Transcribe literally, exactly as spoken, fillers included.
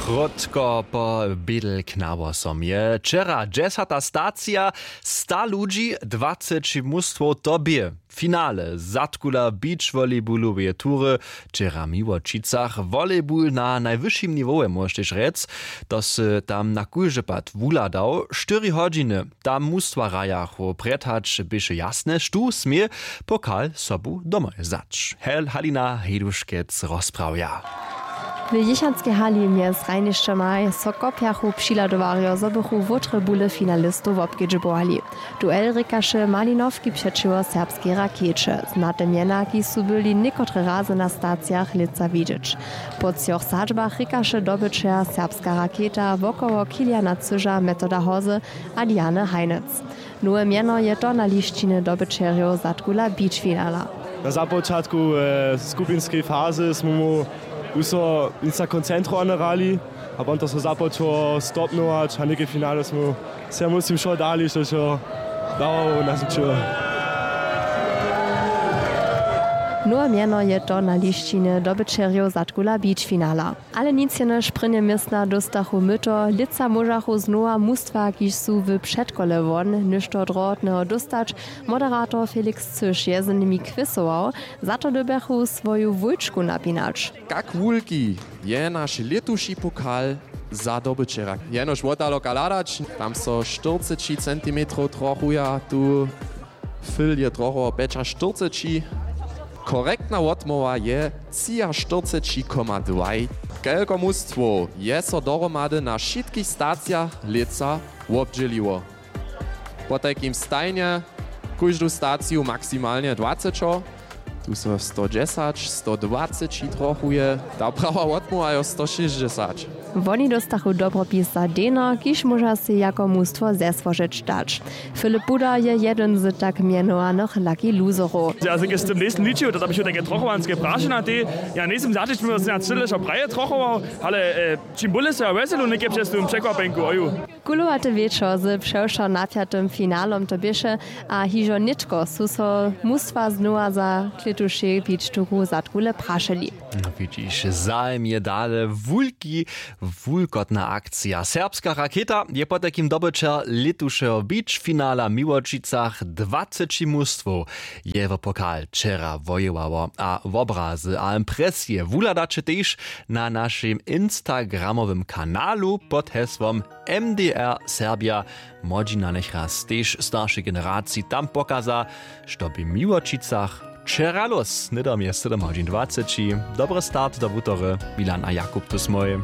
Krótko po bědel k nawosom je wčera dźesata stacija, sta ludźi, dwaceći mustwow, to bě finale zadkula beach volleybaloweje tury. Wčera w Miłočicach volleyball na najwyšim niwołe, móžeš tež rjec. To sy tam na kóždy pad wuhladał štyri hodźiny. Tam mustwa hrajachu, prjed hač běše jasne, štó smě pokal sobu domoj wzać. Hel Halina Hejduškec rozprawja. W jěchanskej hali mjez hrajnišćomaj so kopjachu přihladowarjo, zo bychu wótre bule finalistow wobkedźbowali. Duel rěkaše Malinowki přećiwo serbskej Rakjeće. Znate mjena, kiž su byli někotre razy na stacijach lětsa widźeć. Po třoch sadźbach rěkaše dobyćer Serbska Rakjeta wokoło Kiliana Cyža, Metoda Hozy a Diany Heinec. Nowe mjeno je to na lisćinje dobyćerjow zadkula beach finala. Na započatku e, skupinskej fazy smo mu uso nic koncentrowany hrali, a potom to so započało stopnować, a něke finale smo se, muslim, wšo dali, što so dało, nas učiło. Nowe mjeno je to na lisćinje dobyćerjow zadkula beach finala. Ale nic jenož prěnje městna dóstachu myto. Lětsa móžachu znowa mustwa, kiž su w předkole won, něšto drohotneho dóstać. Moderator Felix Cyš je z nimi kwěsował. Za to dyrbjachu swoju wójčku napinać. Kak wulki je naš lětuši pokal za dobyćera? Jenož wotdaloka hladać, tam so štyrceći centimetrow trochuja, tu fyl je trochu pjećaštyrceći. Korektna wotmołwa je třiaštyrceći koma dwaj. Kelko mustwow je so dohromady na wšitkich stacijach lětsa wobdźěliło? Potajkim stajnje kóždu staciju maksimalnje dwacećo. Tu so sto dźesać, sto dwaceći trochuje. Ta prawa wotmołwa jo sto šěsćdźesać. Woni dóstachu dobropis za deno, kiž móža sej jako mustwo zesłožeć dać. Filip Buda je jedyn z tak mjenowanych lucky loserow. Ja se z tym njejsym ličił, to da běchu take trochowanske prašenja tej. Ja njejsym zaćić mimo sena cyle wšo praje trochował, ale e, čim bóle so ja wjeselu něke přez tym překwapjenku oju. Kulowate wječor z přewšo napjatym finalom to běše, a hižo nětko su so mustwa znowa za klětušej beach turu zadkule prašeli. No, widźiš, zajim je dale wulki, wulkotna akcija. Serbska Rakjeta je potajkim dobyćer lětušeho beach finala w Miłočicach. Dwaceći mustwow je wo pokal wčera wojewało, a wobrazy a impresije wuhladaće tež na našim instagramowym kanalu pod hesłom M D R Serbia. Młodźina njechraz tež staršej generaciji tam pokaza, što bě w Miłočicach wčera lós. Hnydom je sydom hodźin dwaceći. Dobry start do wutory. Milan a Jakub tu smój.